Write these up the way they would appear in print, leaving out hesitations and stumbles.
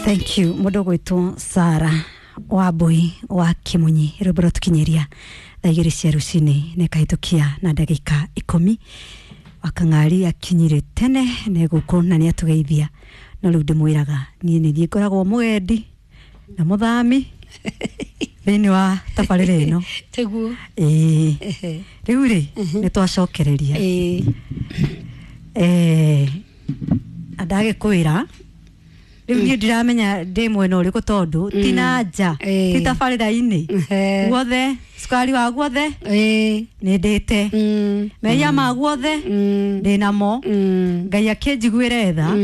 Thank you mundu gwitwo Sara Wambui wa Kimunyi, rwimbo rwatukinyiria thaa 2 cia rucini nikahitukia na ndagika 10. Wakang'ari akinyire tene neguku na niatugeithia, no riu ndimwiraga nie ni thie ngoragwo mugendi na muthami thiini wa tabarĩra ĩno. Tiguo. Ĩĩ, rĩu rĩ nĩ twacokereria. Ndagĩkwĩra rĩu niĩ ndiramenya ndĩ mwena ũrĩkũ tondũ ti na nja, ti tabarĩra-inĩ guothe, cukari wa guothe nĩ ndĩte, mehia ma guothe ndĩ namo. Ngai akĩnjiguĩre tha,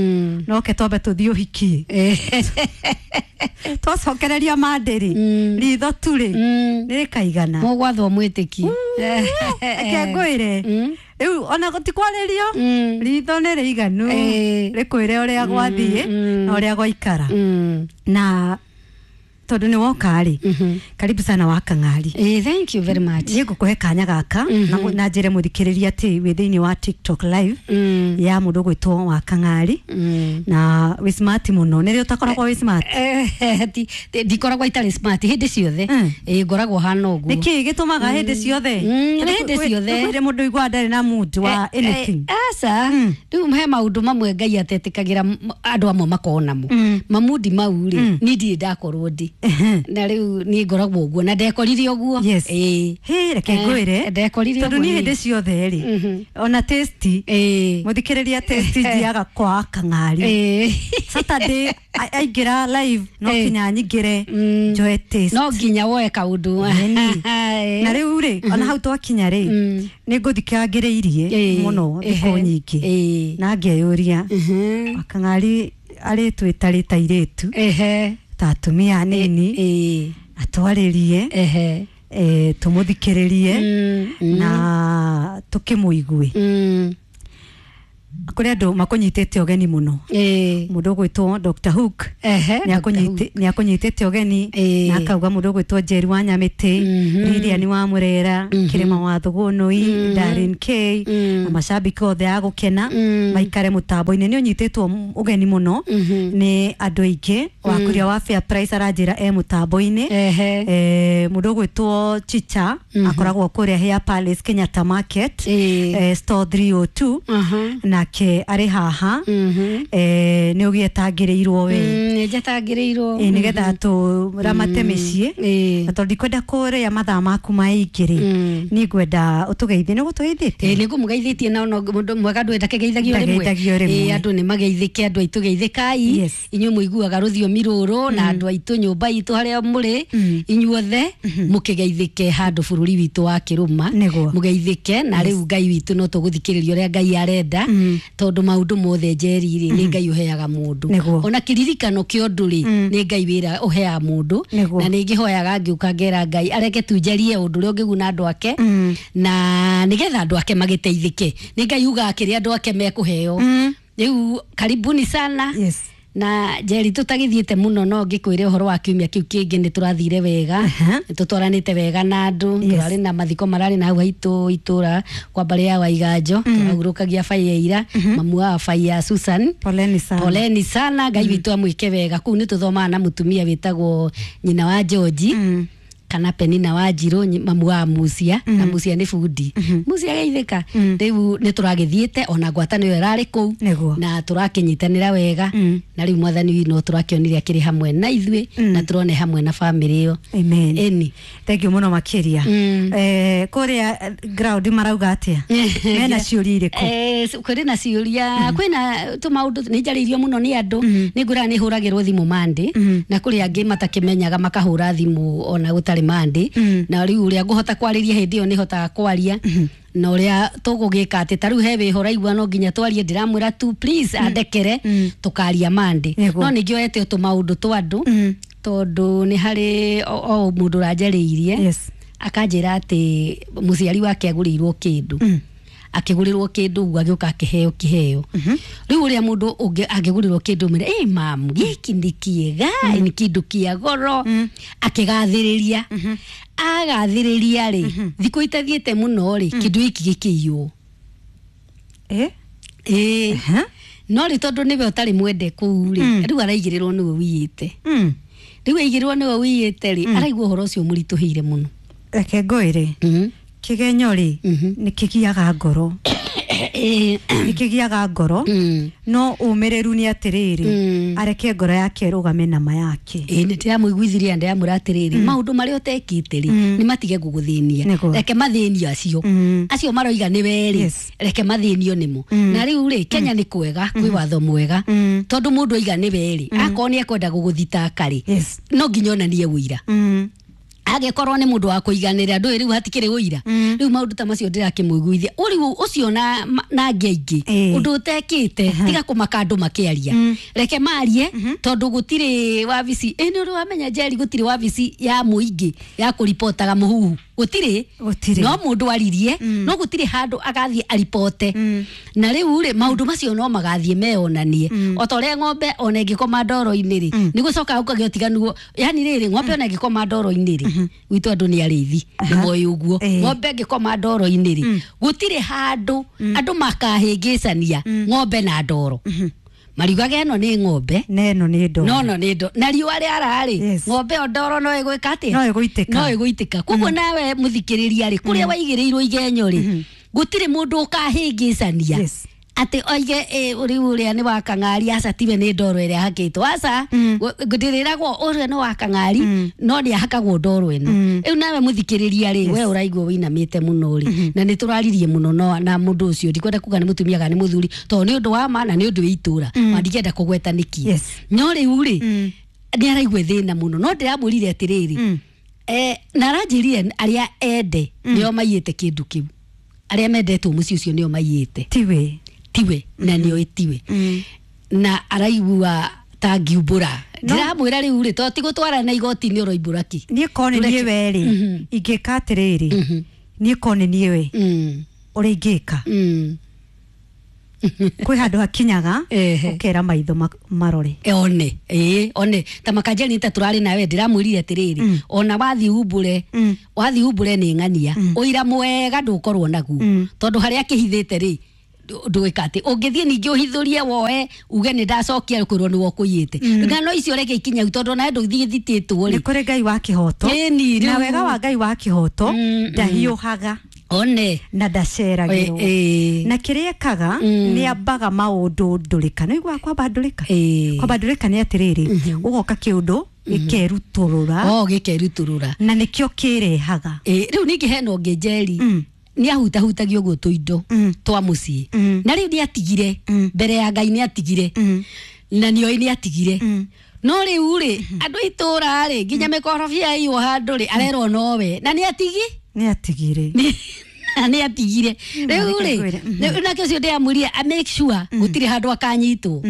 noke twambe tũthiĩ ũhiki, twacokereria mandĩrĩ ritho tu rĩ nĩ rĩkaigana. Mũgwathwo mwĩtĩki. Reke ngwĩre, rĩu ona ti kwarĩrio, ritho nĩ rĩiganu rĩkwĩre ũrĩa gwathiĩ na ũrĩa gwaikara. Na tondũ nĩ woka rĩ, karibu sana wa Kang'ari. Thank you very much. Niĩ ngũkũhe kanya gaka na njĩre mũthikĩrĩria atĩ wĩ thĩinĩ wa TikTok live ya mũndũ ũgwĩtwo wa Kang'ari, na wĩ smart mũno. Nĩ rĩ ũtakoragwo wĩ smart? Ndikoragwo itarĩ smart hĩndĩ ciothe. Ngoragwo hana ũguo. Nĩkĩ gĩtũmaga hĩndĩ ciothe? Nĩ hĩndĩ ciothe. Kwĩrĩ mũndũ igua ndarĩ na mood wa anything. Aca, rĩu he maũndũ mamwe Ngai atetĩkagĩra andũ amwe makorwo namo, mamundi mau rĩ, niĩ ndirĩ ndakorwo ndĩ na rĩu niĩ ngoragwo ũguo na ndekorire ũguo. Yes. Hĩ, reke ngwĩre, ndekorire tondũ ũguo niĩ niĩ. Hĩndĩ ciothe rĩ, ona tasty, mũthikĩrĩria, tasty njiaga kwa Kang'ari. Saturday aingĩra live no kinya nyingĩre njoe taste. No nginya woe kaũndũ. Ĩni. Na rĩu rĩ, ona hau twakinya rĩ, nĩ ngũthikangĩrĩirie mũno thikũ nyingĩ na ngeyũria, Wakang'ari arĩtwĩta rĩ ta airĩtu, ta atumia anini, atwarĩrie, tũmũthikĩrĩrie na tũkĩmũigue. Kũrĩ andũ makũnyitĩte ũgeni mũno. Mũndũ ũgwĩtwo Dr. Hook nĩ akũnyitĩte ũgeni na akauga mũndũ ũgwĩtwo Njeri wa Nyamĩtĩ, Lilian wa Mũrera, Kĩrĩma wa Thũgũnũi, Darren K na macambĩki othe a gũkena maikare mũtambo-inĩ. Nĩ ũnyitĩtwo ũgeni mũno nĩ andũ aingĩ. Wakũria wa Fair Price aranjĩra e mũtambo-inĩ. Mũndũ ũgwĩtwo Chicha akoragwo kũrĩa Hair Palace, Kenyatta Market, store 302, nake arĩ haha. Nĩ ũgĩetangĩrĩirwo we. Nĩ njetangĩrĩirwo. Ĩ, nĩgetha tũramate mĩciĩ, na tondũ ndikwenda kũrĩa mathaa maku maingĩ rĩ, niĩ ngwenda ũtũgeithie. Nĩ ũgũtũgeithĩtie? Ĩ, nĩ ngũmũgeithĩtie, na ona mũndũ mwega ndũ ndakegeithagio rĩmwe. Ndageithagio rĩmwe. Ĩ, andũ nĩ mageithĩke, andũ aitũ geithĩkai. Inyuĩ mũiguaga rũthiomi rũrũ na andũ aitũ nyũmba itũ harĩa mũrĩ inyuothe mũkĩgeithĩke handũ bũrũri witũ wa kĩrũma. Nĩguo. Mũgeithĩke na rĩu Ngai witũ no tũgũthikĩrĩria ũrĩa Ngai arenda, tondũ maũndũ mothe njeri rĩ, nĩ Ngai ũheaga mũndũ. Ona kĩririkano kĩa ũndũ rĩ, nĩ Ngai wĩra ũheaga mũndũ. Na nĩ ngĩhoyaga ngĩũka ngera Ngai areke tu njarie ũndũ ũrĩa ũngĩguna andũ ake, na nĩgetha andũ ake magĩteithĩke. Nĩ Ngai ugaga kĩrĩa andũ ake mekũheo. Rĩu karibuni sana. Na Njeri, tũtagĩthiĩte mũno, no ngĩkwĩre ũhoro wa kiumia kĩu kĩngĩ nĩ tũrathire wega. Nĩ tũtwaranĩte wega na andũ. Tũrarĩ na mathiko mararĩ na hau haitũ itũra kwa mbarĩ ya Waiganjo, tũrahurũkagia baiya ira mamu wa baiya Susan. Poleni sana. Poleni sana, Ngai witũ amwĩke wega. Kũu nĩ tũthomaga na mũtumia wĩtagwo nyina wa George kana Penina wa Njirũ, mamu wa Mucia, na Mucia nĩ bundi. Mucia geithĩka. Rĩu nĩ tũragĩthiĩte ona ngwatanĩro ĩrarĩ kũu na tũrakĩnyitanĩra wega, na rĩu mwathani witũ no tũrakĩonire akĩrĩ hamwe na ithuĩ na tũrone hamwe na bamĩrĩ ĩyo. Amen. Ĩni. Thank you mũno makĩria. Kũrĩa ground marauga atĩa? Mena ciũria irĩkũ? Kũrĩ na ciũria, kwĩna tũmaũndũ nĩ njarĩirio mũno nĩ andũ. Nĩ ngũraga nĩ hũragĩrwo thimũ mandĩ, na kũrĩ angĩ matakĩmenyaga makahũra thimũ ona gũtarĩ mandĩ. Na rĩu ũrĩa ngũhota kwarĩria hĩndĩ ĩyo nĩ hotaga kwaria, na ũrĩa tũgũgĩka atĩ ta rĩu he wĩho ũraigua no nginya twarie, ndĩramwĩra tu please andekere, tũkaria mandĩ. No ningĩ oete tũmaũndũ twa andũ, tondũ nĩ harĩ o mũndũ ũranjarĩirie akanjĩra atĩ mũciari wake agũrĩirwo kĩndũ, akĩgũrĩrwo kĩndũ ũguo agĩũka akĩheo kĩheo. Rĩu ũrĩa mũndũ ũngĩ angĩgũrĩrwo kĩndũ mwĩre, ĩ mamu, gĩkĩ nĩ kĩega, nĩ kĩndũ kĩa goro, akĩgathĩrĩria agathĩrĩria rĩ, thikũ itathiĩte mũno rĩ, kĩndũ gĩkĩ gĩkĩiywo. Ĩĩ. No rĩ tondũ nĩwe ũtarĩ mwende kũu rĩ, rĩu araigĩrĩrwo nĩwe wiyĩte. Rĩu aigĩrĩrwo nĩwe wiyĩte rĩ, araigua ũhoro ũcio mũritũhĩire mũno. Reke ngwĩre, kĩgenyo rĩ, nĩ kĩgiaga ngoro. Nĩ kĩgiaga ngoro, no ũmĩrĩru nĩ atĩrĩrĩ, areke ngoro yake ĩrũgame na ma yake. Ĩĩ nĩ ndĩramũiguithirie ndĩramwĩra atĩrĩrĩ, maũndũ marĩa ũtekĩte rĩ, nĩ matige gũgũthĩnia. Reke mathĩnio acio. Acio maroiga nĩ we rĩ, reke mathĩnio nĩmo. Na rĩu rĩ, Kenya nĩ kwega, kwĩ watho mwega, tondũ mũndũ oiga nĩ we rĩ, akorwo nĩ ekwenda gũgũthitanga rĩ, no nginya onanie ũira. Angĩkorwo nĩ mũndũ wa kũiganĩra ndũĩ rĩu hatikĩrĩ ũira. Rĩu maũndũ ta macio ndĩrakĩmũiguithia ũrĩu ũcio na angĩ aingĩ, ũndũ ũtekĩte tiga kũmaka andũ makĩaria, reke marie, tondũ gũtirĩ wabici. Ĩ nĩ ũrĩ wamenya Njeri, gũtirĩ wabici ya mũingĩ ya kũripotaga mũhuhu, gũtirĩ. No mũndũ aririe, no gũtirĩ handũ agathiĩ aripote. Na rĩu rĩ, maũndũ macio no magathiĩ meyonanie. O ta ũrĩa ng'ombe ona ĩngĩkoma ndoro-inĩ rĩ, nĩ gũcokaga gũkagĩa ũtiganu. Yani rĩrĩ, ng'ombe ona ĩngĩkoma ndoro-inĩ rĩ, gwitũ andũ nĩ arĩithi, nĩ moĩ ũguo. Ng'ombe ĩngĩkoma ndoro-inĩ rĩ, gũtirĩ handũ andũ makahĩngĩcania ng'ombe na ndoro. Mariugaga ĩno nĩ ng'ombe, na ĩno nĩ ndoro. No nĩ ndoro. Na riũa rĩara rĩ, ng'ombe ĩyo ndoro no ĩgwĩka atĩa? No ĩgũitĩka. No ĩgũitĩka. Koguo nawe mũthikĩrĩria rĩ, kũrĩa waigĩrĩirwo igenyo rĩ, gũtirĩ mũndũ ũkahĩngĩcania atĩ oige rĩu ũrĩa nĩ wa kang'ari, aca tiwe nĩ ndoro ĩrĩa ahakĩtwo, aca ndĩrĩragwo ũrĩa nĩ wa kang'ari, no nĩ ahakagwo ndoro ĩno. Rĩu nawe mũthikĩrĩria rĩ, we ũraigua wĩinamĩte mũno rĩ, na nĩ tũraririe mũno na mũndũ ũcio, ndikwenda kuga nĩ mũtumia kana nĩ mũthuri, tondũ nĩ ũndũ wa ma na nĩ ũndũ wa itũra, na ndingĩenda kũgweta nĩkĩ. No rĩu rĩ, nĩ araigua thĩna mũno, no ndĩramwĩrire atĩrĩrĩ, na aranjĩrire arĩa ende nĩo maiyĩte kĩndũ kĩu, arĩa mendetwo mũciĩ ũcio nĩo maiyĩte, tiwe tiwe, na nĩoĩ tiwe, na araigua ta ngiumbũra. Ndĩramwĩra rĩu rĩ, to ti gũtwara na igoti-inĩ ũroimbũra ki. Niĩ korwo nĩ niĩ we rĩ, ingĩka atĩrĩrĩ, niĩ korwo nĩ niĩ we, ũrĩa ingĩka, kwĩ handũ hakinyaga ũkera maitho marore, one. One ta makanjeri ta tũrarĩ nawe, ndĩramwĩrire atĩrĩrĩ, ona wathiĩ umbũre, wathiĩ umbũre nĩ ng'ania, ũira mwega ndũkorwo naguo, tondũ harĩa akĩhithĩte rĩ, ndũĩka atĩ ũngĩthiĩ ningĩ ũhithũrie woe uge nĩ ndacokia kwĩrwo nĩwe ũkũiyĩte. Ng'ano icio reke ikinye tondũ nawe ndũthiĩ thitĩtwo rĩ. Nĩ kũrĩ Ngai wa kĩhoto, na wega wa Ngai wa kĩhoto ndahiũhaga, one, na ndaceragĩrwo, na kĩrĩa ekaga nĩ ambaga maũndũ ndũrĩka. Nĩ ũiguaga kwamba ndũrĩka? Kwamba ndũrĩka nĩ atĩrĩrĩ, ũgoka kĩũndũ gĩkerutũrũra. Gĩkerutũrũra, na nĩkĩo kĩrehaga. Rĩu ningĩ hena ũngĩ Njeri, nĩ ahutahutagia ũguo tũindo twa mũciĩ, na rĩu nĩ atigire mbere ya Ngai, nĩ atigire, na nĩoĩ nĩ atigire. No rĩu rĩ, andũ a itũũra rĩ, nginya mĩkorobia yaiywo handũ rĩ, arerwo nowe, na nĩ atigi, nĩ atigire, na nĩ atigire. Rĩu rĩ, nake ũcio ndĩramwĩrire a make sure gũtirĩ handũ akanyitwo,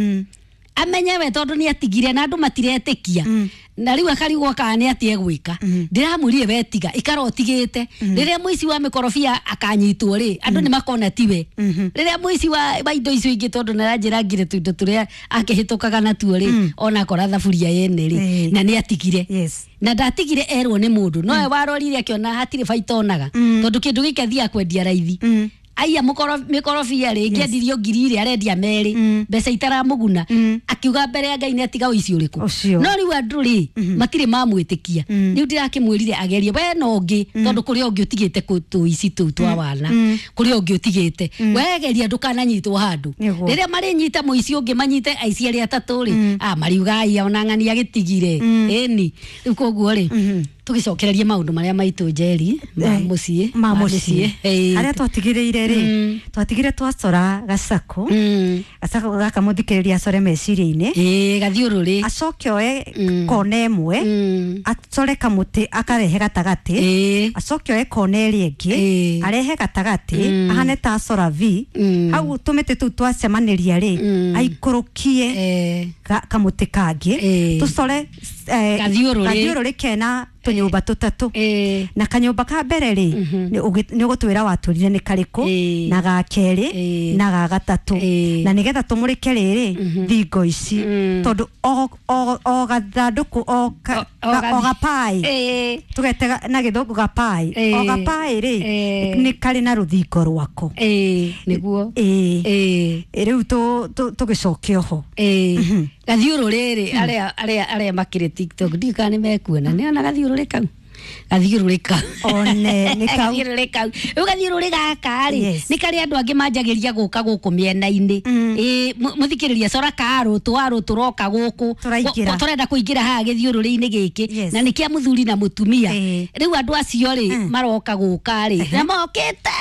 amenye we tondũ nĩ atigire na andũ matiretĩkia, na rĩu akarigwo kana nĩ atĩ egwĩka. Ndĩramwĩrire we tiga, ikara ũtigĩte. Rĩrĩa mũici wa mĩkorobia akanyitwo rĩ, andũ nĩ makona tiwe. Rĩrĩa mũici wa indo icio ingĩ, tondũ nĩ aranjĩrangire tũindo tũrĩa akĩhĩtũkaga natuo rĩ, ona akora thaburia yene rĩ, na nĩ atigire. Na ndatigire erwo nĩ mũndũ, nowe warorire akĩona hatirĩ baita onaga, tondũ kĩndũ gĩkĩ athiaga kwendia raithi. Aiya mĩkorobia rĩ, ĩngĩendirio 2,000 rĩ, arendia 2, mbeca itaramũguna. Akiuga mbere ya Ngai nĩ atiga ũici ũrĩkũ. No rĩu andũ rĩ, matirĩ mamwĩtĩkia. Rĩu ndĩrakĩmwĩrire agerie we na ũngĩ, tondũ kũrĩ ũngĩ ũtigĩte tũici tũu twa wana, kũrĩ ũngĩ ũtigĩte. We geria ndũkananyitwo handũ. Rĩrĩa marĩnyita mũici ũngĩ, manyite aici arĩa atatũ rĩ, mariuga aiya ona ng'ania gĩtigire. Ĩni. Rĩu koguo rĩ, tũgĩcokererie maũndũ marĩa maitũ Njeri, ma mũciĩ, ma mũciĩ. Harĩa twatigĩrĩire rĩ, twatigire twacora gacako, gacako gaka mũthikĩrĩria acore meciria-inĩ, gathiũrũrĩ, acoke oe kona ĩmwe, acore kamũtĩ akarehe gatagatĩ, acoke oe kona ĩrĩa ĩngĩ arehe gatagatĩ, ahane ta acora V, hau tũmĩtĩ tũu twacemanĩria rĩ, aikũrũkie kamũtĩ kangĩ, tũcore Kathiũrũrĩ kena tũnyũmba tũtatũ na kanyũmba ka mbere rĩ nĩ ũgũtwĩra watũrire nĩ karĩkũ na ga kerĩ na ga gatatũ na nĩgetha tũmũrĩke rĩrĩ thingo ici tondũ o gathandũkũ o gapaĩ tũgete na gĩthũngũ gapaĩ o gapaĩ rĩ nĩ karĩ na rũthingo rwako nĩguo rĩu tũgĩcoke oho gathiũrũrĩ rĩ arĩa makĩrĩ TikTok ndiũĩ kana nĩ mekuona nĩ ona gathiũrũrĩ kau gathiũrũrĩ kau one nĩ kau gathiũrũrĩ kau rĩu gathiũrũrĩ gaka rĩ nĩ karĩa andũ angĩ manjagĩria gũka gũkũ mĩena-inĩ ĩ mũthikĩrĩria cora karũ twarũ tũroka gũkũ tũrenda kũingĩra haha gĩthiũrũrĩ-inĩ gĩkĩ na nĩ kĩa mũthuri na mũtumia rĩu andũ acio rĩ maroka gũka rĩ na mokĩte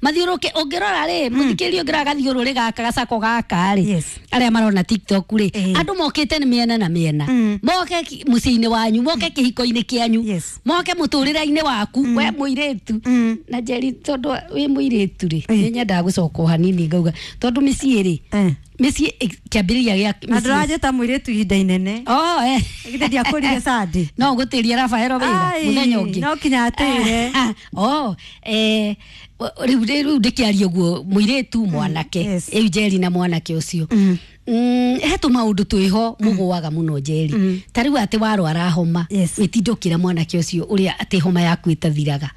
mathiũrũrũke ũngĩrora rĩ mũthikĩrĩria ũngĩrora gathiũrũrĩ gaka gacako gaka rĩ arĩa marona TikTok rĩ andũ mokĩte nĩ mĩena na mĩena moke mũciĩ-inĩ wanyu moke kĩhiko-inĩ kĩanyu moke mũtũrĩre-inĩ waku we mũirĩtu na Njeri tondũ wĩ mũirĩtu rĩ nĩ nyendaga gũcoka o hanini ngauga tondũ mĩciĩ rĩ mĩciĩ kĩambĩrĩria gĩa na ndũranjĩta mũirĩtu ihinda inene githĩ ndiakũrire Sunday no ngũtĩrie Rafaelo wĩra mũthenya ũngĩ no kinya atĩre rĩu ndĩkĩaria ũguo mũirĩtu mwanake rĩu Njeri na mwanake ũcio he tũmaũndũ twĩho mũgũaga mũno Njeri ta rĩu atĩ warwara homa wĩtinde ũkĩra mwanake ũcio ũrĩa atĩ homa yaku ĩtathiraga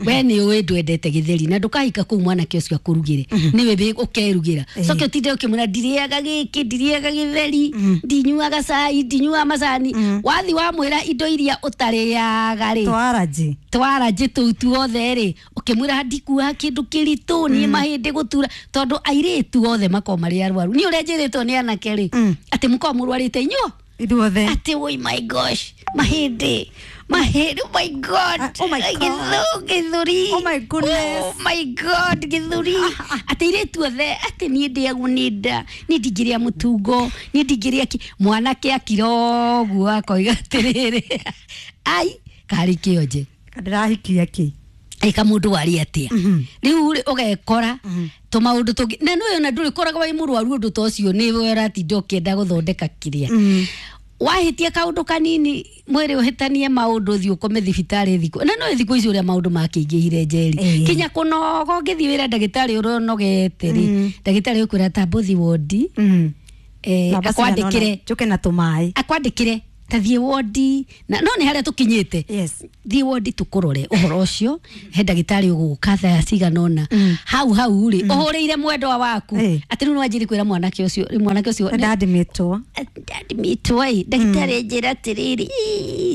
we nĩ ũĩ ndwendete gĩtheri na ndũkahika kũu mwanake ũcio akũrugĩre nĩwe ũkerugĩra coke ũtinde ũkĩmwĩra ndirĩaga gĩkĩ ndirĩaga gĩtheri ndinyuaga cai ndinyuaga macani wathi wamwĩra indo iria ũtarĩaga rĩ twaranjĩ tũu tuothe rĩ ũkĩmwĩra ndikuaga kĩndũ kĩritũ niĩ mahĩndĩ gũtura tondũ airĩtu othe makoragwo marĩ arwaru niĩ ũrĩa njĩrĩtwo nĩ anake rĩ atĩ mũkoragwo mũrwarĩte inyuo ithuothe atĩ oi my gosh mahĩndĩ mahĩndĩ oh my god oh my god gĩthũri oh my goodness oh my god gĩthũri atĩ airĩtu othe atĩ niĩ ndĩagwo nĩ nda niĩ ndingĩrĩa mũtungo niĩ ndingĩrĩa kĩ mwanake akira ũguo akoiga atĩrĩrĩ ai karĩ kĩonje ndĩrahikia kĩ ĩka mũndũ warĩ atĩa rĩu rĩ ũgekora tũmaũndũ tũngĩ na nĩwe ona ndũrĩkoragwo wĩ mũrwaru ũndũ ta ũcio nĩwe ũratinda ũkĩenda gũthondeka kĩrĩa wahĩtia kaũndũ kanini mwĩrĩ ũhĩtanie maũndũ ũthiĩ ũkome thibitarĩ thikũ na nĩũĩ thikũ ici ũrĩa maũndũ makĩingĩhire Njeri kinya kũnoga ũngĩthiĩ wĩra ndagĩtarĩ ũrĩa ũnogete rĩ ndagĩtarĩ ũkwĩra tamba ũthiĩ wondi akwandĩkĩre njũke na tũmaĩ akwandĩkĩre ta thiĩ wondi na no nĩ harĩa tũkinyĩte thiĩ wondi tũkũrore ũhoro ũcio he ndagĩtarĩ ũgũka thaa cigana ũna hau hau rĩ ũhũrĩire mwendwa waku atĩ rĩu nĩwanjĩrĩ kwĩra mwanake ũcio rĩu mwanake ũcio ndadimĩtwo ndadimĩtwo ĩ ndagĩtarĩ njĩra atĩrĩrĩ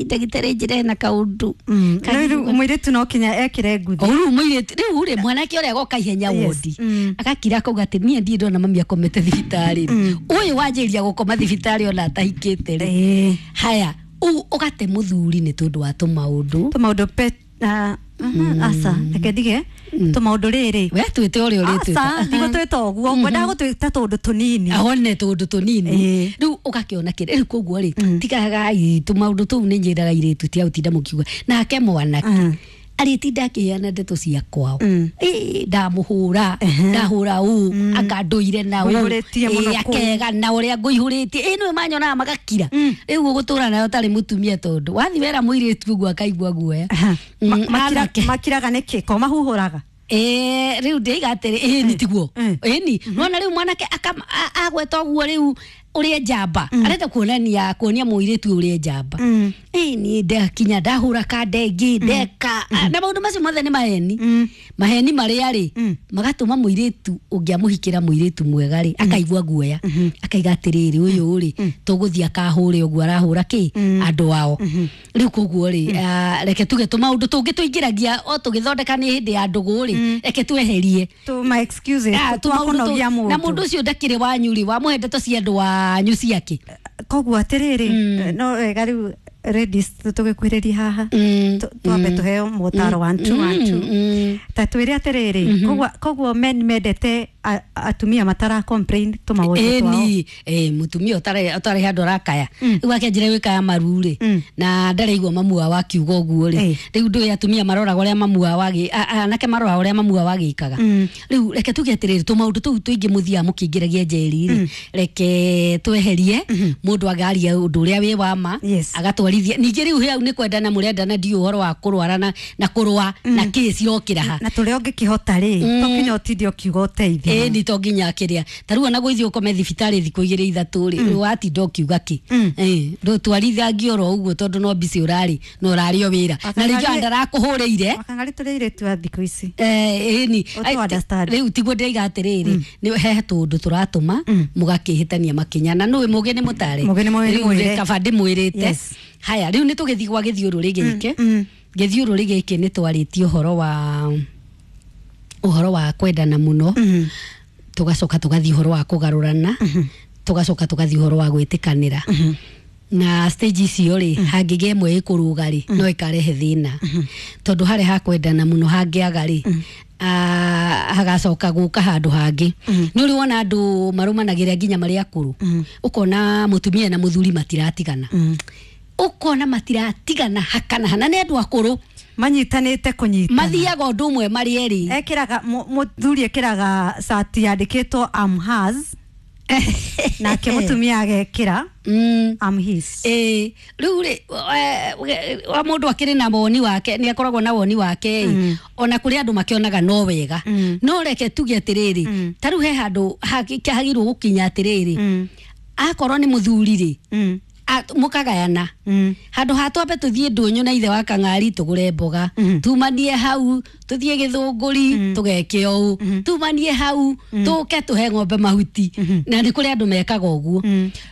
ndagĩtarĩ njĩra hena kaũndũ rĩu mũirĩtu no kinya ekĩre nguthi rĩu mũirĩtu rĩu rĩ mwanake ũrĩa agoka ihenya wondi agakira akauga atĩ niĩ ndirĩ ndona mami akomete thibitarĩ ũyũ wanjĩrĩria gũkoma thibitarĩ ona atahikĩte rĩ haya u ũgate mũthuri nĩ tondũ wa tũmaũndũ tũmaũndũ pe aca reke ndige tũmaũndũ rĩrĩ we twĩte ũrĩa ũrĩtwĩta aca ndigũtwĩta ũguo ngwendaga gũtwĩta tũũndũ tũnini one tũũndũ tũnini rĩu ũgakĩona kĩrĩ rĩu koguo rĩ tigagai tũmaũndũ tũu nĩ njĩraga irĩtu tia gũtinda mũkiuga nake mwanake arĩtinda akĩheana ndeto cia kwao ndamũhũra ndahũra ũũ akandũire na ũũ akega na ũrĩa ngũihũrĩtie ĩ nĩwe manyonaga magakira rĩu ũgũtũra nayo ũtarĩ mũtumia tondũ wathi wera mũirĩtu ũguo akaigua guoya makiraga nĩkĩ ko mahuhũraga rĩu ndĩiga atĩrĩ ĩni tiguo ĩni nona rĩu mwanake agweta ũguo rĩu ũrĩa njamba arenda kuonania kuonia mũirĩtu ũrĩa njamba ĩni ndakinya ndahũra kandengĩ ndeka na maũndũ macio mothe nĩ maheni maheni marĩa rĩ magatũma mũirĩtu ũngĩamũhikĩra mũirĩtu mwega rĩ akaigua guoya akaiga atĩrĩrĩ ũyũ rĩ tũgũthiĩ akahũre ũguo arahũra kĩ andũ ao rĩu koguo rĩ reke tuge tũmaũndũ tũngĩ tũingĩragia o tũgĩthondeka nĩ hĩndĩ ya ndũgũ rĩ reke tweherie na mũndũ ũcio ndakĩrĩ wanyu rĩ wamũhe ndeto cia andũ wanyu ciake koguo atĩrĩrĩ no wega rĩu ladies tũgĩkuhĩrĩria haha, twambe tũheo motaro 1 2 1 2. Ta twĩre atĩrĩrĩ, koguo men mendete atumia matara complain tũmaũndũ twao. Ĩni mũtumia ũtarĩ handũ arakaya, rĩu akĩanjĩra gwĩkaya maru rĩ, na ndareigua mamu wao akiuga ũguo rĩ, rĩu ndũĩ atumia maroraga ũrĩa mamu wao anake maroraga ũrĩa mamu wao agĩkaga. Rĩu reke tuge atĩrĩrĩ, tũmaũndũ tũu tũingĩ mũthiaga mũkĩingĩragia njeri rĩ, reke tweherie, mũndũ agaria ũndũ ũrĩa wĩ wa ma, agatwarithia. Ningĩ rĩu hau nĩ kwendana mũrendana, ndiũ ũhoro wa kũrwara na kũrũa na kĩ cirokĩra ha na tũrĩa ũngĩkĩhota rĩ, to nginya ũtinde ũkiuga ũteithio. Ĩni to nginya kĩrĩa ta rĩu ona gũithiĩ ũkome thibitarĩ thikũ igĩrĩ ithatũ rĩ, watinda ũkiuga kĩ, ndũtwarithangia oro ũguo tondũ no mbici ũrarĩ na ũrarĩ o wĩra na rĩngĩ ona ndarakũhũrĩire. Wakang'ari tũrĩ airĩtu a thikũ ici. Ĩni Ũtũ-understand. Rĩu tiguo ndĩraiga atĩrĩrĩ, nĩ he tũndũ tũratũma mũgakĩhĩtania makinya, na nũĩ mũgĩ nĩ mũtare. Mũgĩ nĩ Rĩu mwĩre. Kaba ndĩmwĩrĩte. Haya, rĩu nĩ tũgĩthiĩ gwa gĩthiũrũrĩ gĩkĩ. Gĩthiũrũrĩ gĩkĩ nĩ twarĩtie ũhoro wa kwendana mũno, tũgacoka tũgathiĩ ũhoro wa kũgarũrana, tũgacoka tũgathiĩ ũhoro wa gwĩtĩkanĩra. Na stage icio rĩ, hangĩgĩa ĩmwe ĩkũrũga rĩ, no ĩkarehe thĩna, tondũ harĩa hakwendana mũno hangĩaga rĩ, hagacoka gũka handũ hangĩ. Nĩ ũrĩ wona andũ marũmanagĩrĩra nginya marĩ akũrũ, ũkona mũtumia na mũthuri matiratigana, ũkona matiratigana hakana hana, nĩ andũ akũrũ. Manyitanĩte kũnyitana. Mathiaga ũndũ ũmwe marĩ erĩ. Ekĩraga mũthuri ekĩraga cati yandĩkĩtwo "I'm hers", nake mũtumia agekĩra "I'm his". Ĩĩ, rĩu rĩ, wa mũndũ akĩrĩ na woni wake, nĩ akoragwo na woni wake ĩ, ona kũrĩ andũ makĩonaga no wega. No reke tuge atĩrĩrĩ, ta rĩu he handũ hagĩrĩirwo gũkinya atĩrĩrĩ, akorwo nĩ mũthuri rĩ, mũkagayana, handũ ha twambe tũthiĩ ndũnyũ na ithe wa kang'ari tũgũre mboga, tumanie hau tũthiĩ gĩthũngũri tũgeke ũũ, tumanie hau tũke tũhe ng'ombe mahuti, na nĩ kũrĩ andũ mekaga ũguo.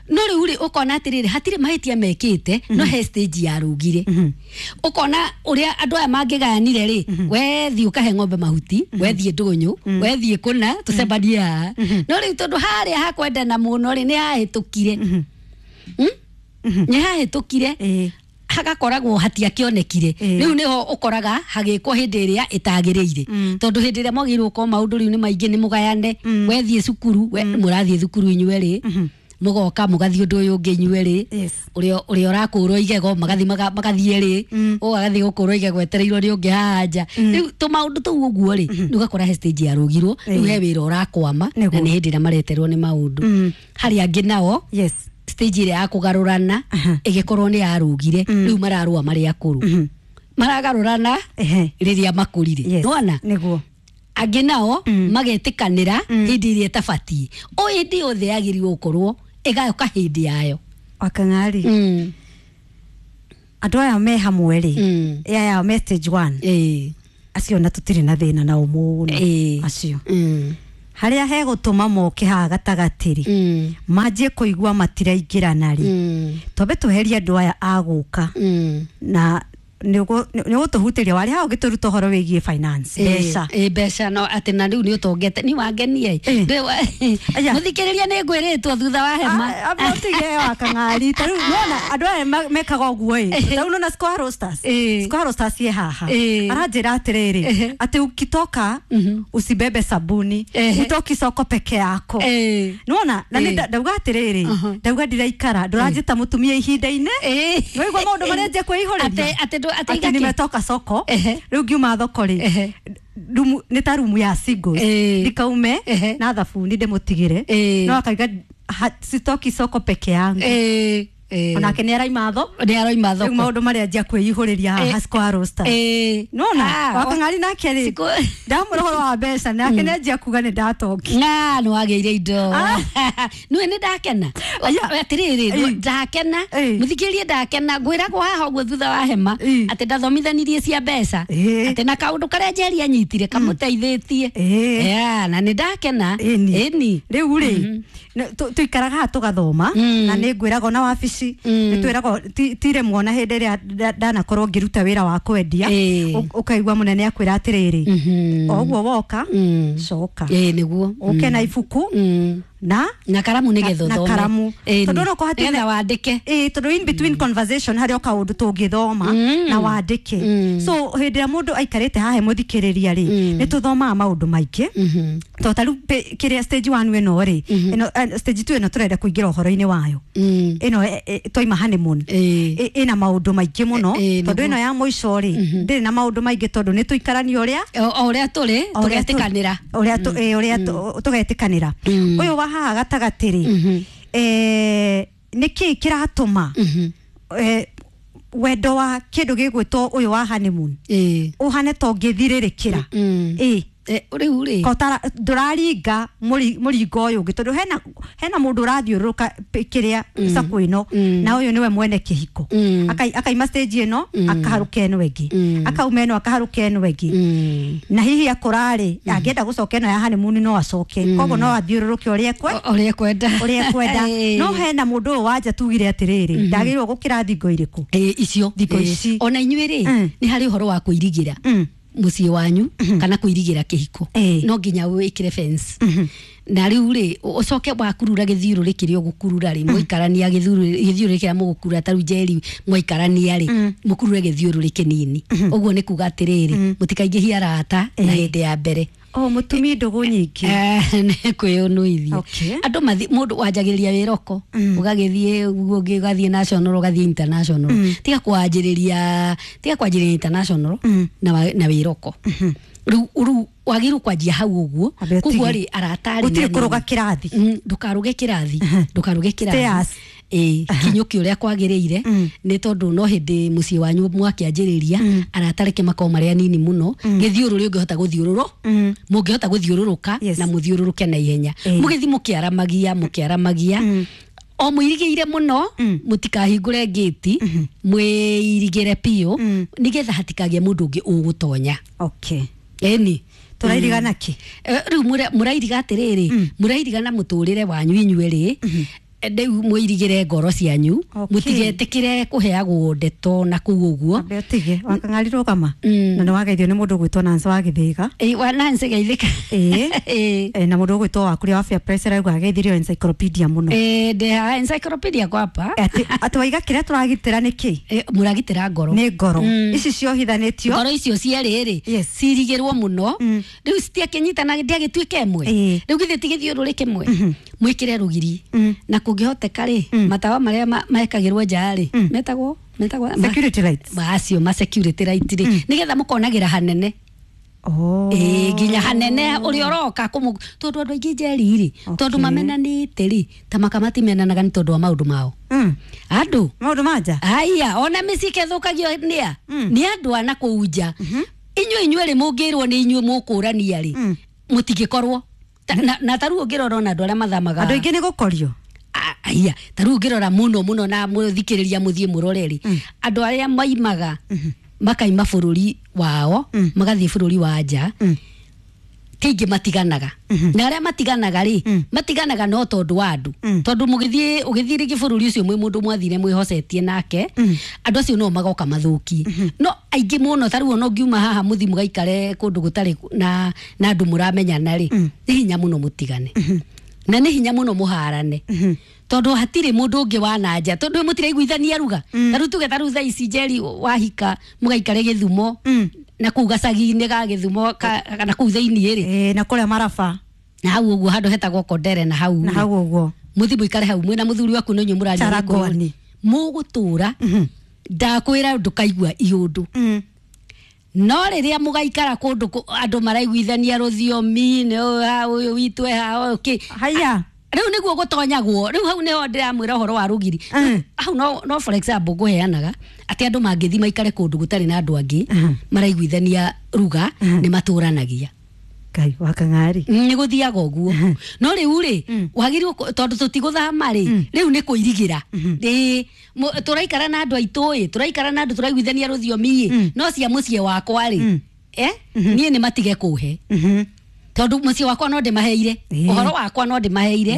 No rĩu rĩ, ũkona atĩrĩrĩ, hatirĩ mahĩtia mekĩte, no he stage yarũgire, ũkona ũrĩa andũ aya mangĩgayanire rĩ, wethiĩ ũkahe ng'ombe mahuti, wethiĩ ndũnyũ, wethiĩ kũna, tũcemanie haha. No rĩu tondũ harĩa hakwendana mũno rĩ, nĩ hahĩtũkire. Nĩ hahĩtũkire, hagakoragwo hatiakĩonekire. Rĩu nĩho ũkoraga hagĩkwo hĩndĩ ĩrĩa ĩtagĩrĩire, tondũ hĩndĩ ĩrĩa mwagĩrĩirwo gũkorwo maũndũ rĩu nĩ maingĩ, nĩ mũgayane, wethiĩ cukuru, mũrathiĩ thukuru inyuerĩ, mũgoka mũgathiĩ ũndũ ũyũ ũngĩ inyuerĩ, ũrĩa ũrakũrwo igego magathiĩ magathiĩ rĩ, ũyũ agathiĩ gũkũrwo igego etereirwo nĩ ũngĩ haha nja. Rĩu tũmaũndũ tũu ũguo rĩ, rĩu ũgakora he stage yarũgirwo, rĩu he wĩra ũrakwama, na nĩ hĩndĩ ĩrĩa mareterwo nĩ maũndũ. Harĩa angĩ nao, stage ĩrĩa ya kũgarũrana ĩgĩkorwo nĩ yarũgire, rĩu mararũa marĩ akũrũ, maragarũrana rĩrĩa makũrire. Nĩwona? Nĩguo. Angĩ nao magetĩkanĩra hĩndĩ ĩrĩa ĩtabatiĩ, o hĩndĩ yothe yagĩrĩirwo gũkorwo ĩgaũka hĩndĩ yayo. Wakang'ari, andũ aya me hamwe rĩ, aya me stage one, acio na tũtirĩ na thĩna nao mũno, acio harĩa hegũtũma moke haha gatagatĩ rĩ, manjie kũigua matiraingĩrana rĩ, twambe tweherie andũ aya a gũka, na nĩ ũgũtũhutĩria warĩ haha ũgĩtũruta ũhoro wĩgiĩ finance, mbeca. Ĩ, mbeca, no atĩ na rĩu nĩ ũtongete nĩ wangenie. Aya. Mũthikĩrĩria, nĩ ngwĩrĩtwo thutha wa hema. Amba ũtige, Wakang'ari, ta rĩu nona andũ aya mekaga ũguo ĩ, ta rĩu nona Square Roasters, Square Roasters ye haha, aranjĩra atĩrĩrĩ, atĩ ukitoka usibebe sabuni, utoki soko peke yako. Nona na nĩ ndauga atĩrĩrĩ, ndauga ndiraikara ndũranjĩta mũtumia ihinda-inĩ, nĩwaigua maũndũ marĩa njia kwĩihũrĩria. Atĩ atĩ atĩ igakĩ? Nimetoka soko, rĩu ngiuma thoko rĩ, rumu nĩ ta rumu ya singles, ndikaume na thabuni ndĩmũtigĩre, no akauga sitoki soko peke yangu. Onake nĩ araima tho Nĩ aroima rĩu thoko. Maũndũ marĩa njia kwĩihũrĩria haha Square Roasters, nona Wakang'ari nake rĩ, ndamũra ũhoro wa mbeca, nake nĩ anjia kuga nĩ ndatongi. Ng'a nĩ wagĩire indo. Nĩwe nĩ ndakena. Aya. Atĩrĩrĩ, ndakena. Mũthikĩrĩrie, ndakena ngwĩragwo haha ũguo thutha wa hema atĩ ndathomithanirie cia mbeca, atĩ na kaũndũ karĩa Njeri anyitire kamũteithĩtie. Yeah, na nĩ ndakena. Ĩni. Ĩni. Rĩu rĩ, tũikaraga haha tũgathoma, na nĩ ngwĩragwo na wabici nĩ twĩragwo tirĩ mwona hĩndĩ ĩrĩa ndanakorwo ngĩruta wĩra wa kwendia, ũkaigua mũnene akwĩra atĩrĩrĩ, o ũguo woka, coka Ĩĩ, nĩguo. ũke na ibuku. na karamu nĩgetha na ũthome. karamu. Ĩni. Tondũ no kũhati Nĩgetha wandĩke. Ĩĩ, tondũ in between conversation harĩ o kaũndũ tũngĩthoma na wandĩke. So hĩndĩ ĩrĩa mũndũ aikarĩte haha mũthikĩrĩria rĩ, nĩ tũthomaga maũndũ maingĩ. To ta rĩu kĩrĩa stage 1 ĩno rĩ, ĩno stage 2 ĩno tũrenda kũingĩra ũhoro-inĩ wayo. Ĩno twaima honeymoon. Ĩna maũndũ maingĩ mũno, tondũ ĩno ya mũico rĩ, ndĩrĩ na maũndũ maingĩ, tondũ nĩ tũikarania ũrĩa O ũrĩa tũrĩ tũgetĩkanĩra. Ũrĩa ũrĩa tũgetĩkanĩra. Ũyũ wa haha gatagatĩ rĩ, nĩ kĩĩ kĩratũma wendo wa kĩndũ gĩgwĩtwo ũyũ wa honeymoon ũhane ta ũngĩthirĩrĩkĩra? Ĩĩ. Rĩu rĩ, Ko ndũraringa mũringo ũyũ ũngĩ, tondũ hena mũndũ ũrathiũrũrũka kĩrĩa sako ĩno, na ũyũ nĩwe mwene kĩhiko. Akaima stage ĩno, akaharũka ĩno ĩngĩ, akauma ĩno, akaharũka ĩno ĩngĩ. Na hihi akũrarĩ angĩenda gũcoka ĩno ya honeymoon no acoke, koguo no athiũrũrũke ũrĩa ekwe ũrĩa ekwenda. Ũrĩa ekwenda. No hena mũndũ ũyũ wanja tugire atĩrĩrĩ, ndagĩrĩirwo gũkĩra thingo irĩkũ? Icio. Thingo ici. Ona inyuĩ rĩ, nĩ harĩ ũhoro wa kũirigĩra mũciĩ wanyu kana kũirigĩra kĩhiko. No nginya wĩkĩre fence, na rĩu rĩ, ũcoke wakurura gĩthiũrũrĩ kĩrĩa ũgũkurura rĩ, mũikarania gĩthiũrũrĩ kĩrĩa mũgũkurura, ta rĩu Njeri mwaikarania rĩ, mũkurure gĩthiũrũrĩ kĩnini ũguo, nĩ kuga atĩrĩrĩ, mũtikaingĩhie arata na hĩndĩ ya mbere. O mũtumii ndũgũ nyingĩ. Nĩ kwĩyũnũithia. Andũ mathi mũndũ wanjagĩrĩria wĩroko, ũgagĩthiĩ ũguo ũngĩ, ũgathiĩ national, ũgathiĩ international. Tiga kwanjĩrĩria international na wĩroko. Rĩu wagĩrĩirwo kwanjia hau ũguo. Ambe Koguo ũtige. rĩ, arata rĩ, Gũtirĩ nĩ anini. kũrũga kĩrathi. Ndũkarũge kĩrathi, ndũkarũge kĩrathi. Stairs. Ĩĩ, kinyũki ũrĩa kwagĩrĩire, nĩ tondũ no hĩndĩ mũciĩ wanyu mwakĩanjĩrĩria, arata reke makorwo marĩ anini mũno, gĩthiũrũrĩ ũngĩhota gũthiũrũrũ mũngĩhota gũthiũrũrũka na mũthiũrũrũke na ihenya, mũgĩthiĩ mũkĩaramagia, mũkĩaramagia, o mũirigĩire mũno, mũtikahingũre ngĩti, mwĩirigĩre biũ, nĩgetha hatikagĩe mũndũ ũngĩ ũgũtonya. Ĩni. Tũrairigana kĩ? Rĩu mũrairiga atĩrĩrĩ, mũrairiga na mũtũrĩre wanyu inyuerĩ. Rĩu mũirigĩre ngoro cianyu, mũtigetĩkĩre kũheagwo ndeto na kũu ũguo. Ambe ũtige wakang'ari rũgama. Na nĩ wageithio nĩ mũndũ ũgwĩtwo Nancy wa Gĩthĩga. Ĩ, wa Nancy geithĩka. Ĩĩ. Na mũndũ ũgwĩtwo wa kũrĩa wa Fair Price arauga ageithirio encyclopedia mũno. Ĩ, ndĩ encyclopedia kwapa. Atĩ waiga kĩrĩa tũragitĩra nĩ kĩ? Ĩ, mũragitĩra ngoro. Nĩ ngoro ici ciohithanĩtio. Ngoro icio cierĩ rĩ, cirigĩrwo mũno. Rĩu citiakĩnyitana, ndiagĩtuĩka ĩmwe. Rĩu githĩ ti gĩthiũrũrĩ kĩmwe? Mwĩkĩre rũgiri, na kũngĩhoteka rĩ, matawa marĩa mekagĩrwo nja rĩ, metagwo Security lights. Macio ma security light rĩ, nĩgetha mũkonagĩra hanene. Ĩĩ, nginya hanene ũrĩa ũroka kũmũ, tondũ andũ aingĩ Njeri rĩ, tondũ mamenanĩte rĩ, ta maka matimenanaga nĩ tondũ wa maũndũ mao andũ. Maũndũ ma nja. Aya, ona mĩciĩ ĩthũkagio nĩa nĩ andũ a na kũu nja. Inyuĩ rĩ, mũngĩrwo nĩ inyuĩ mũkũrania rĩ, mũtingĩkorwo na ta rĩu ũngĩrora ona andũ arĩa mathamaga, Andũ aingĩ nĩ gũkorio. Aya, ta rĩu ũngĩrora mũno mũno na mũthikĩrĩria, mũthiĩ mũrore rĩ, andũ arĩa maimaga makaima bũrũri wao magathiĩ bũrũri wa nja, kaingĩ matiganaga, na arĩa matiganaga rĩ, matiganaga no tondũ wa andũ, tondũ mũgĩthiĩ, ũgĩthiĩ rĩngĩ bũrũri ũcio mwĩ mũndũ mwathire mwĩhocetie nake, andũ acio no magoka mathũkie. No aingĩ mũno, ta rĩu ona ũngiuma haha mũthiĩ mũgaikare kũndũ gũtarĩ na andũ mũramenyana rĩ, nĩ hinya mũno mũtigane, na nĩ hinya mũno mũharane, tondũ hatirĩ mũndũ ũngĩ wa na nja, tondũ mũtiraiguithania ruga. Ta rĩu tuge, ta rĩu thaa ici Njeri wahika mũgaikare Gĩthumo na kũu gacagi-inĩ ga Gĩthumo na kũu thĩiniĩ rĩ, Ĩĩ, na kũrĩa maraba. Na hau ũguo handũ hetagwo Kondere na hau Na rĩ, hau ũguo. Mũthiĩ mũikare hau mwĩna mũthuri waku nĩ inyuĩ mũraria Charagwani. Mũgũtũra, ndakwĩra ndũkaigua iũndũ. No rĩrĩa mũgaikara kũndũ andũ maraiguithania rũthiomi, nĩ ũyũ ha, ũyũ witũ e ha, ũyũ kĩ. Haya. Rĩu nĩguo gũtonyagwo. Rĩu hau nĩho ndĩramwĩra ũhoro wa rũgiri. Hau no for example ngũheanaga atĩ andũ mangĩthiĩ maikare kũndũ gũtarĩ na andũ angĩ maraiguithania ruga, nĩ matũranagia. Ngai wa kang'ari. Nĩ gũthiaga ũguo. No rĩu rĩ, wagĩrĩirwo tondũ tũtigũthama rĩ, rĩu nĩ kũirigĩra. Ĩĩ, tũraikara na andũ aitũ ĩ, tũraikara na andũ tũraiguithania rũthiomi ĩ, no cia mũciĩ wakwa rĩ, niĩ nĩ matige kũhe, tondũ mũciĩ wakwa no ndĩmaheire ũhoro wakwa, no ndĩmaheire.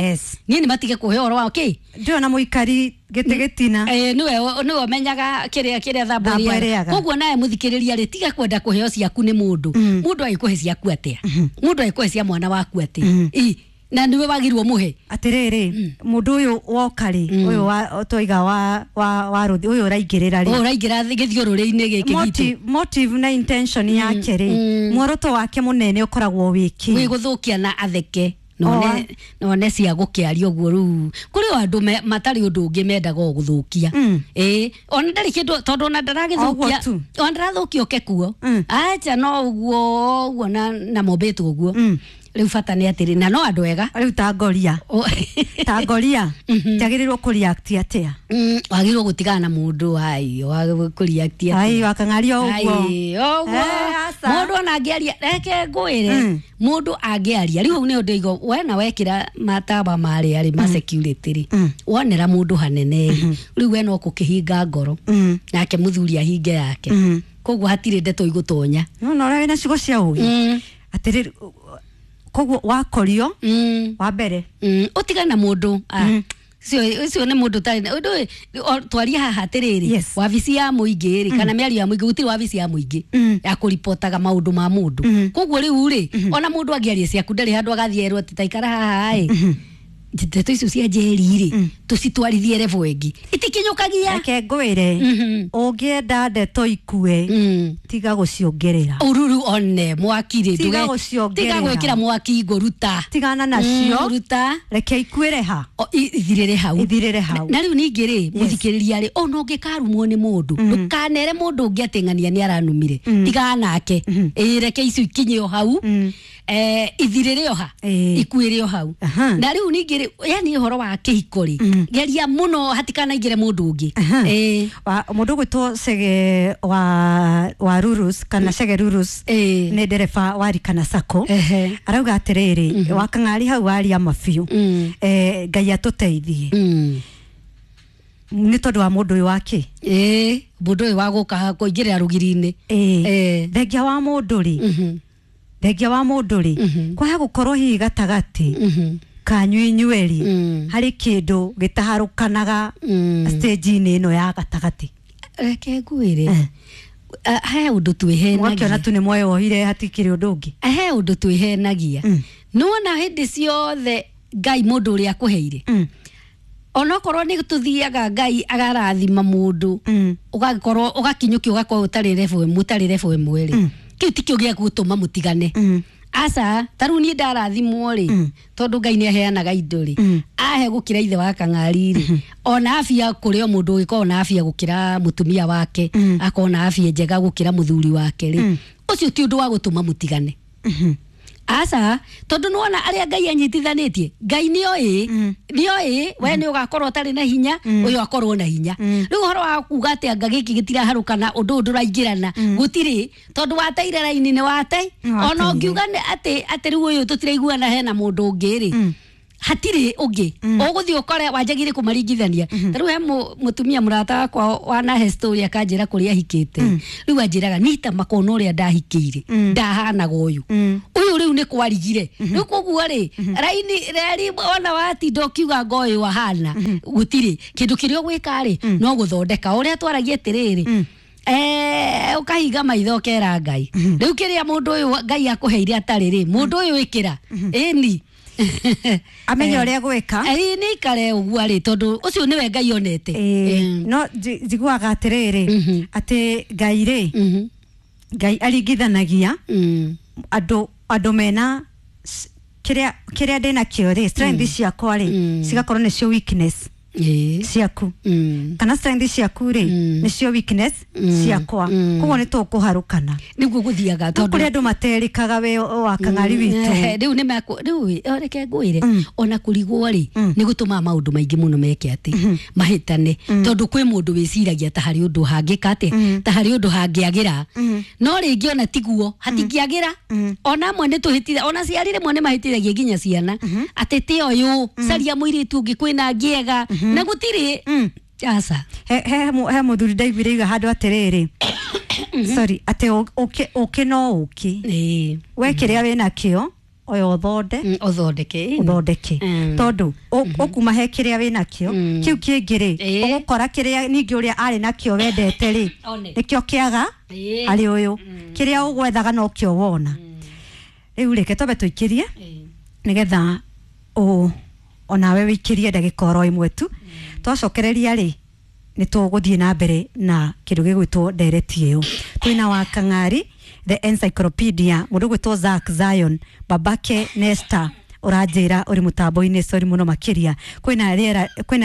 Niĩ nĩ matige kũhe ũhoro wa kĩ. Ndĩrona mũikari gĩtĩ gĩtina. Nĩwe ũmenyaga kĩrĩa thambo Thambo ĩrĩaga. ĩrĩaga. Koguo nawe mũthikĩrĩria rĩ, tiga kwenda kũheo ciaku nĩ mũndũ. Mũndũ agĩkũhe ciaku atĩa? Mũndũ agĩkũhe cia mwana waku atĩa? Ĩ, Na niwe wagirwo muhe. Atiriri, mundu uyu woka ri, uyu wa twaiga wa ruthi uyu uraingirira ri, Ũraingĩra gĩthiũrũrĩ-inĩ gĩkĩ gitũ. Motive na intention yake ri, muoroto wake munene ukoragwo wiki Wĩ gũthũkia na atheke none cia gũkĩaria ũguo. Rĩu kũrĩ o andũ matarĩ ũndũ ũngĩ mendaga o gũthũkia. Ĩĩ, ona ndarĩ kĩndũ, tondũ ona ndaragĩthũkia, Ũguo tu. ona ndarathũkia oke kuo, acha, no ũguo ũguo na mombĩtwo ũguo. Rĩu bata nĩ atĩrĩ, na no andũ ega. Riu ta ngoria, ta ngoria njagĩrĩirwo kũ react atia? Wagĩrĩirwo gũtigana na mũndũ ai kũreact. Ai, wakang'aria ũguo. Ai, ũguo. Eh, aca. Mũndũ ona angĩaria, reke ngwĩre, mũndũ angĩaria rĩu hau nĩho ndĩigo we na wekĩra matawa marĩa rĩ ma security rĩ, wonera mũndũ hanene rĩ, rĩu we no kũkĩhinga ngoro, nake mũthuri ahinge yake, koguo hatirĩ ndeto igũtonya. No na ũrĩa wĩna ciugo cia ũgĩ atĩrĩrĩ, koguo wakorio wa mbere, Ũtigane na mũndũ. Ah, ũcio nĩ mũndũ ũtarĩ na ũndũ twarie haha atĩrĩrĩ, wabici ya mũingĩ rĩ, kana mĩario ya mũingĩ, gũtirĩ wabici ya mũingĩ ya kũripotaga maũndũ ma mũndũ. Koguo rĩu rĩ, ona mũndũ angĩaria ciaku, ndarĩ handũ agathiĩ erwo atĩ taikara haha ĩ, ndeto icio cia njeri rĩ, tũcitwarithie level ĩngĩ, itikinyũkagia. Reke ngwĩre, ũngĩenda ndeto ikue, tiga gũciongerera. Ũruru one mwaki rĩ, Tiga gũciongerera. Tiga gwĩkĩra mwaki ngũruta. Tigana nacio. Ruta. Reke ikuĩre ha. Ithirĩre hau. Ithirĩre hau. Na rĩu ningĩ rĩ, mũthikĩrĩria rĩ, ona ũngĩkarumwo nĩ mũndũ, ndũkanere mũndũ ũngĩ atĩ ng'ania nĩ aranumire. Tigana nake. Ĩĩ, reke icio ikinye o hau. Ithirĩre o ha, ikuĩre o hau. Na rĩu ningĩ rĩ, yani ũhoro wa kĩhiko rĩ, geria mũno hatikanaingĩre mũndũ ũngĩ. Ĩĩ. Mũndũ ũgwĩtwo Cege wa Rurus kana Cege Rurus, nĩ ndereba wa Rikana Sacco, arauga atĩrĩrĩ, wakang'ari hau waria mabiũ. Ngai atũteithie nĩ tondũ wa mũndũ ũyũ wake. Ĩĩ, mũndũ ũyũ wa gũka kũingĩrĩra rũgiri-inĩ. Thengia wa mũndũ rĩ, thengia wa mũndũ rĩ, kwaha gũkorwo hihi gatagatĩ kanyu inyuerĩ harĩ kĩndũ gĩtaharũkanaga stage-inĩ ĩno ya gatagatĩ. Reke ngwĩre, he ũndũ twĩhenagia. Mwakĩona tu nĩ mweyohire, hatikĩrĩ ũndũ ũngĩ. He ũndũ twĩhenagia. Nĩwona hĩndĩ ciothe Ngai mũndũ ũrĩa akũheire, onokorwo nĩ tũthiaga Ngai agarathima mũndũ, ũgagĩkorwo ũgakinyũkia, ũgakorwo ũtarĩ level ĩmwe, mũtarĩ level ĩmwe rĩ, kĩu tikĩo gĩa gũtũma mũtigane. Aca, ta rĩu niĩ ndarathimwo rĩ, tondũ Ngai nĩ aheanaga indo rĩ, ahe gũkĩra ithe wa kang'ari rĩ, ona afia kũrĩ o mũndũ ũgĩkorwo na afia gũkĩra mũtumia wake, akorwo na afia njega gũkĩra mũthuri wake rĩ, ũcio ti ũndũ wa gũtũma mũtigane. Aca, tondũ nĩwona arĩa Ngai anyitithanĩtie, Ngai nĩoĩ, nĩoĩ we nĩ ũgakorwo ũtarĩ na hinya, ũyũ akorwo na hinya. Rĩu ũhoro wa kuga atĩ anga gĩkĩ gĩtiraharũkana, ũndũ ũyũ ndũraingĩrana, gũtirĩ, tondũ wateire raini nĩ wate. Nĩ Ona wateire. ũngiuga atĩ rĩu ũyũ tũtiraiguana, hena mũndũ ũngĩ rĩ, hatirĩ ũngĩ ũgũthiĩ ũkore wanjagie kũmaringithania. Ta rĩu he mũtumia mũrata wakwa wanahe story, akanjĩra kũrĩa ahikĩte. Rĩu anjĩraga nita makona ũrĩa ndahikĩire ndahanaga ũyũ, ũyũ rĩu nĩ kwarigire. Rĩu koguo rĩ, raini reri ona watinda ũkiuga ngo ũyũ ahana, gũtirĩ kĩndũ kĩrĩa ũgwĩka rĩ, no gũthondeka ũrĩa twaragia atĩrĩrĩ, ũkahinga maitho ũkera Ngai rĩu kĩrĩa mũndũ ũyũ Ngai akũheire atarĩ rĩ, mũndũ ũyũ ĩkĩra ĩni. Amenye ũrĩa gwĩka. Ĩĩ, nĩ ikare ũguo rĩ, tondũ ũcio nĩwe Ngai onete. Ĩĩ, no njiguaga atĩrĩrĩ, atĩ Ngai rĩ, Ngai aringithanagia andũ mena kĩrĩa ndĩnakĩo rĩ, strength ciakwa rĩ, cigakorwo nĩcio weakness ciaku, kana strength ciaku rĩ, nĩcio weakness ciakwa, koguo nĩ tũkũharũkana. Nĩguo gũthiaga. No kũrĩ andũ materĩkaga we wa kang'ari witũ. Rĩu nĩ mekũ rĩu reke ngwĩre, ona kũrigwo rĩ, nĩ gũtũmaga maũndũ maingĩ mũno meke atĩ mahĩtane, tondũ kwĩ mũndũ wĩciragia ta harĩ ũndũ hangĩka atĩ, ta harĩ ũndũ hangĩagĩra, no rĩngĩ ona tiguo hatingĩagĩra. Ona amwe nĩ tũhĩtitha, ona ciari rĩmwe nĩ mahĩtithagia nginya ciana atĩ ti ũyũ, caria mũirĩtu ũngĩ, kwĩna angĩ ega, na gũtirĩ. Aca. He mũthuri ndaiguire iga handũ atĩrĩrĩ, sorry, atĩ ũkĩ no ũkĩ, we kĩrĩa wĩnakĩo oya ũthonde. Ũthondeke, ĩĩ. Ũthondeke, tondũ ũkuma he kĩrĩa wĩnakĩo, kĩu kĩngĩ rĩ, ũgũkora kĩrĩa ningĩ ũrĩa arĩ nakĩo wendete rĩ, One. nĩkĩo kĩaga harĩ ũyũ. Kĩrĩa ũgwethaga nokĩo wona. Rĩu reke twambe tũikĩrie nĩgetha Onawe wĩikĩrie ndagĩka oro ĩmwe tu. Twacokereria rĩ, nĩ tũgũthiĩ na mbere na kĩndũ gĩgwĩtwo ndereti ĩyo. Twĩna wa Kang'ari the encyclopedia, mũndũ ũgwĩtwo Zack Zion, babake Nesta ũranjĩra ũrĩ mũtambo-inĩ. Sorry mũno makĩria, kwĩna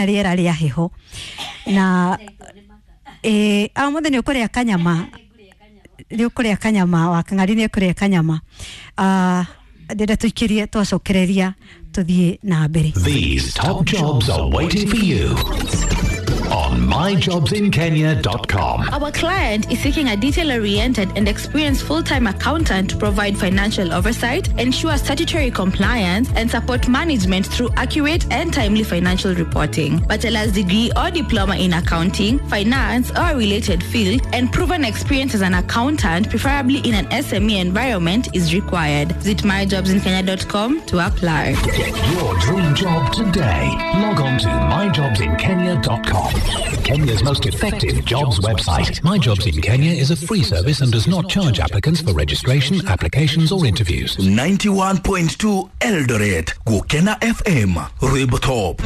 rĩera rĩa heho na ĩĩ, mũthĩ nĩ ũkũrĩa kanyama, nĩ ũkũrĩa kanyama. Wa Kang'ari nĩ ũkũrĩa kanyama. Ndĩrenda tũikĩrie, twacokereria tũthiĩ na mbere. These top jobs are waiting for you on myjobsinkenya.com. Our client is seeking a detail oriented and experienced full time accountant to provide financial oversight, ensure statutory compliance, and support management through accurate and timely financial reporting. Bachelor's degree or diploma in accounting, finance, or a related field, and proven experience as an accountant, preferably in an SME environment, is required. Visit myjobsinkenya.com to apply. Get your dream job today. Log on to myjobsinkenya.com. Kenya's most effective jobs website. My Jobs in Kenya is a free service and does not charge applicants for registration, applications, or interviews. 91.2 Eldoret, Gukena FM, Rwimbo Top.